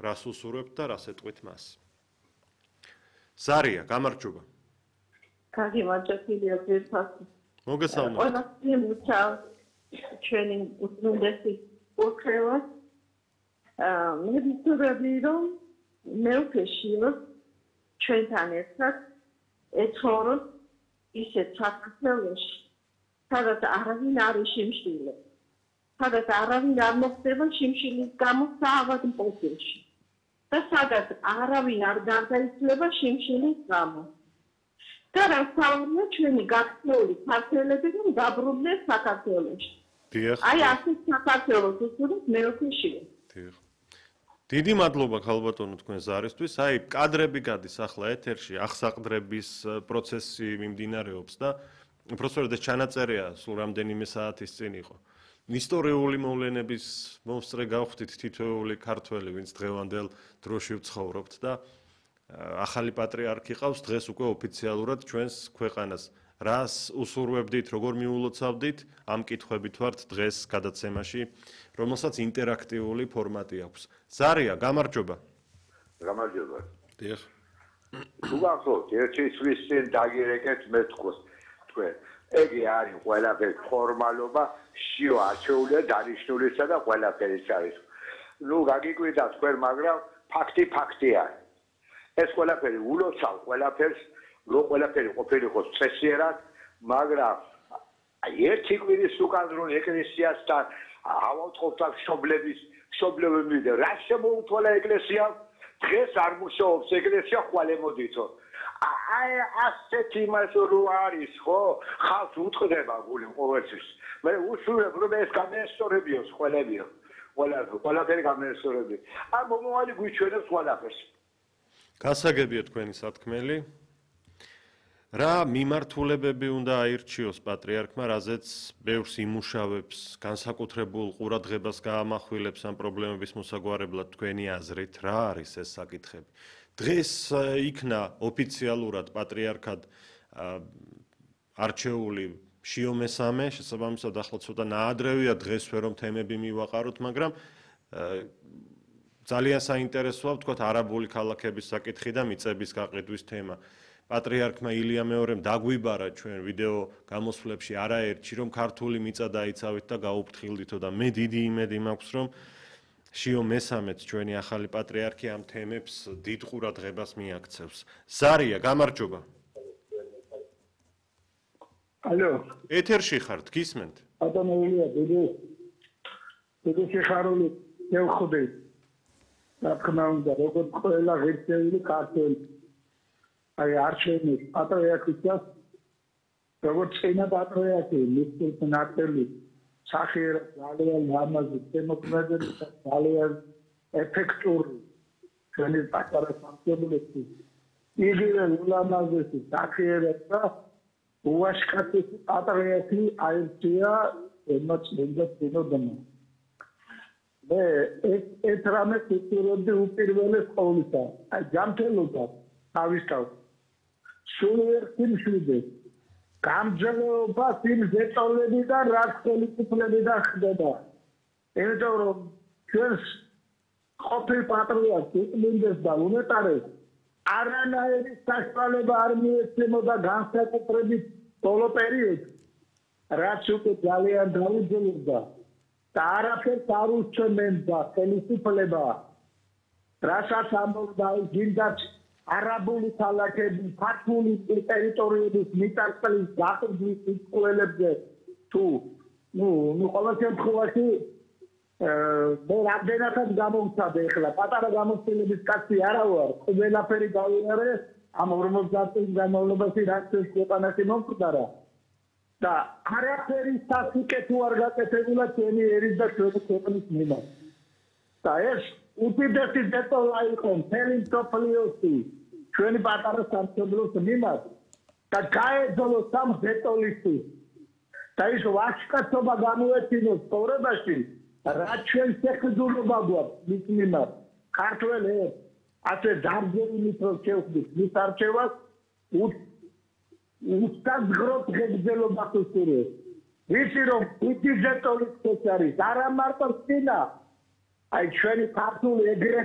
რას უსურვებთ და რას ეტყვით მას. ზარია, გამარჯობა. კარგი, მადლობია ძირფასი. მოგესალმებით. ყველასი მუჩავს ჩვენი უცნაური ოქრევა. მე ვიტყოდი რომ მე ვქეშიოს ჩვენთან ერთად ეცხოვროს ისეთ საქართველოში, სადაც არავინ არ იშიმშილე. სადაც არავინ არ მოხდება შიმშილის გამო საავადმყოფოში. და სადაც არავინ არ გარდაიცვლება შიმშილის გამო. და რასაუბრია ჩვენი გაქცეული ქართველები რომ დაბრუნდნენ საქართველოში. აი ასეთ საქართველოს უსურვებს მეოქეშია. დიდი მადლობა ქალბატონო თქვენ ზარისთვის. აი კადრები გადის ახლა ეთერში, აღსაყდრების პროცესი მიმდინარეობს და უბრალოდ ეს ჩანაწერია სულ რამდენიმე საათის წინ იყო. ისტორიული მოვლენების მომსწრე გავხდით თითოეული ქართველი, ვინც დღევანდელ დროში ვცხოვრობთ და ახალი პატრიარქი ყავს დღეს უკვე ოფიციალურად ჩვენს ქვეყანას. რას უსურვებდით, როგორ მიულოცავდით, ამ კითხვებით ვართ დღეს გადაცემაში, რომელსაც ინტერაქტიული ფორმატი აქვს. ზარია, გამარჯობა. გამარჯობა. დიახ. თუ გახსოვთ, ერთი წლის წინ დაგირეკეთ მეთქოს თქვენ. ეგი არის ყველაფერი ფორმალობა, შიო არჩეულია დანიშნულისა და ყველაფერი არის. ნუ გაგიკვირდა თქვენ, მაგრამ ფაქტია. ეს ყველაფერი ულოცავ ყველაფერს, რო ყველაფერი ყოფილიყო წესიერად, მაგრამ ერთი კვირის უკან რო ეკლესიასთან ავავთხოვდა მშობლებები და რა შემოუთვალა ეკლესიამ, დღეს არ მუშაობს ეკლესია, ხვალ ემოდითო. აი ასეთი იმას რო არის, ხო? ხალხს უტყდება გული ყოველთვის. მე უშურებ რომ ეს გამეესწორებიოს ყველებიო. ყველაფერი გამეესწორებიო. აი მომავალი გვიჩვენებს ყველაფერს. გასაგებია თქვენი სათქმელი. რა მიმართულებები უნდა აირჩიოს პატრიარქმა, რაზეც ბევრს იმუშავებს, განსაკუთრებულ ყურადღებას გაამახვილებს ამ პრობლემების მოსაგვარებლად თქვენი აზრით, რა არის ეს საკითხები? დღეს იქნა ოფიციალურად პატრიარქად არჩეული შიო მესამე, შესაბამისად ახლა ცოტა ნაადრევია დღესვე რომ თემები მივაყაროთ, მაგრამ ძალიან საინტერესოა ვთქვათ არაბული ქალაქების საკითხი და მიწების გაყიდვის თემა. პატრიარქმა ილია მეორემ დაგვიბარა ჩვენ ვიდეო გამოსვლებში არაერთში რომ ქართული მიწა დაიცავით და გაუფრთხილდითო და მე დიდი იმედი მაქვს რომ შიო მესამეც ჩვენი ახალი პატრიარქი ამ თემებს დიდ ყურადღებას მიაქცევს. ზარია, გამარჯობა. ალო. ეთერში ხართ, გისმენთ? ბატონოია, დიდი სიხარული მევხვდი. რა თქმა უნდა, როგორც ყველა ღირსეული ქართველი აი არჩევნის პატრიარქისას როგორც წინა პატრიარქი მისთვის ნაკელი სახიერად ძალიან ლამაზი დემოკრატიული და ძალიან ეფექტური ჩვენი პატარა სამშობლოში იგივე ლამაზი სახიერად და უაშკაცი პატრიარქი აირჩია ემოციონალ წინოდამა მე ეს რამე სიტუაცია უპირველეს ყოვლისა აი ჯანმრთელობა თავისთავად სულიერ სიმშვიდეს გამძლეობა სიმძეწოლები და რაც ხელისუფლები და ხდება იმიტომ რომ ჩვენს ყოფილ პატრიარქს იყმინდეს და უნეტარეს არანაირი საშუალება არ მიეცემოდა განსაკუთრებით ბოლო პერიოდში რაც უკვე ძალიან დაუძლებდა და არაფერს არ უსწრებდა ხელისუფლება რასაც ამბობდა გინდათ არაბული ქალაქები, ქართული ტერიტორიების მიწასყრის გაყიდვის სიტყველებზე თუ ნუ ყოველ შემთხვევაში მე რამდენადაც გამოვცადე ახლა პატარა გამოცდილების კაცი არა ვარ, ყველაფერი გავიარე ამ 50 წლის განმავლობაში რაც ეს ქვეყანაში მომხდარა და არაფერი სასიკეთო არ გაკეთებულა ჩემი ერის და ჩვენი ქვეყნის მიმართ და ეს უდიდესი დეტოლა იყო მთელი მსოფლიოში ჩვენი პატარა სამშობლოს მიმართ და გაეძოლო სამ დეტოლისთვის და ის ვაჟკაცობა გამოეჩინოს ცხოვრებაში რაც ჩვენ შეხედულობა გვაქვს მის მიმართ ქართველებს ასე დარგებული პროცესის მის არჩევას უსტაზღროთ ღებძელობას უსურვებს ვიცი რომ უდიდესი დეტოლის არის არა მარტო წინა აი ჩვენი ქართული ეგრე